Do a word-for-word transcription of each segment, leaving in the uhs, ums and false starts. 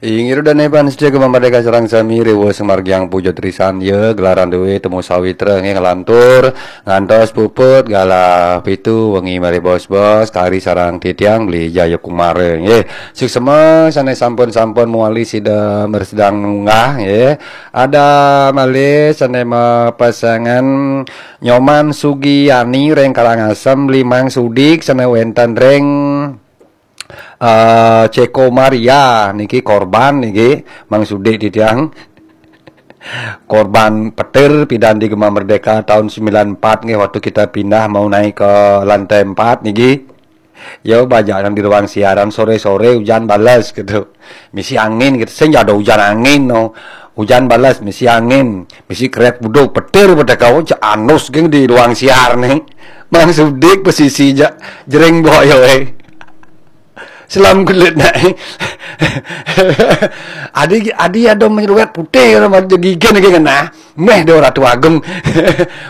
Inggih ida dané pamiarsa Gema Merdeka sareng sami, riwuh sumargiang puja trisan ya, gelaran dué temu sawitra nggih, nglantur ngantos puput galah pitu wengi malih bos-bos, kari sareng titiang Beli Jayakumara nggih. Suksma sané sampun-sampun mawali sida mresidang munggah nggih. Ada malih sané mapesengan Nyoman Sugiani ring Karangasem, Beli Mang Sudik sané wénten ring eh, Ceko Maria niki korban niki, Mang Sudik titiang. Korban petir pidan di Gema Merdeka tahun sembilan empat nggih, waktu kita pindah mau naik ke lantai empat niki. Ya, bajak nang di ruang siaran sore-sore hujan balas gitu. Misi angin gitu. Sing ada hujan angin no. Hujan balas, misi angin, misi kerep buduk, petir pada kau, cak anus geng di ruang siar nih. Mang Sudik pesisi jak jering boyo eh. Selam kulit naik. Adi adi ada menyeruet putih orang ada gigi nih kena. Meh dia Ratu Agung.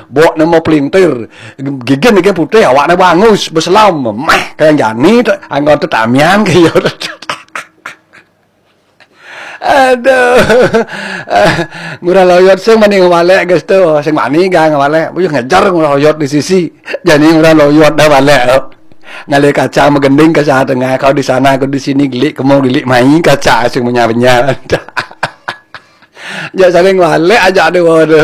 Bawa nama pelintir. Gigi nih putih, awak nih bangus, berselam. Meh kayak jani anggota tamian kayak. Aduh. Ngurah Loyot sing mani ngawalek geus tu, sing mani ga ngawalek. Uyuh ngejar Ngurah Loyot di sisi. Jani Ngurah Loyot dah walek. Ngalih kaca magending kaca tengah, kau di sana, kau di sini, gilik kemo, gilik mai, kaca sing menyar-menyar. Jak saling walek aja dua tu.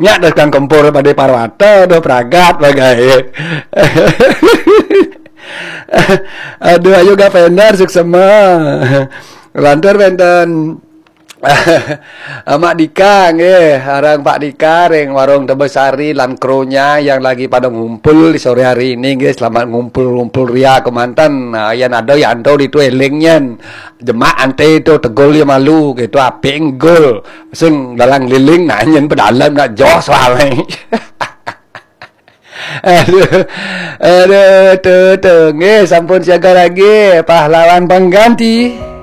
Nyak dah kang kempur pada parwata, dah pragat bagai. Aduh, ayo gak vendor suksema. Lantur wénten Mak Dika nggih, arang Pak Dika ring warung Tebesari lan krunya yang lagi pada ngumpul di sore hari ini nggih, selamat ngumpul-ngumpul ria kemanten. Nah, yan ada yanto ditu eling nyen. Jemak ante tu tegul ya malu gitu, apik nggul. Sing dalang liling nah nyen pedalem nak jos wae. Aduh. Aduh, tu tu nggih, sampun siaga lagi pahlawan pengganti.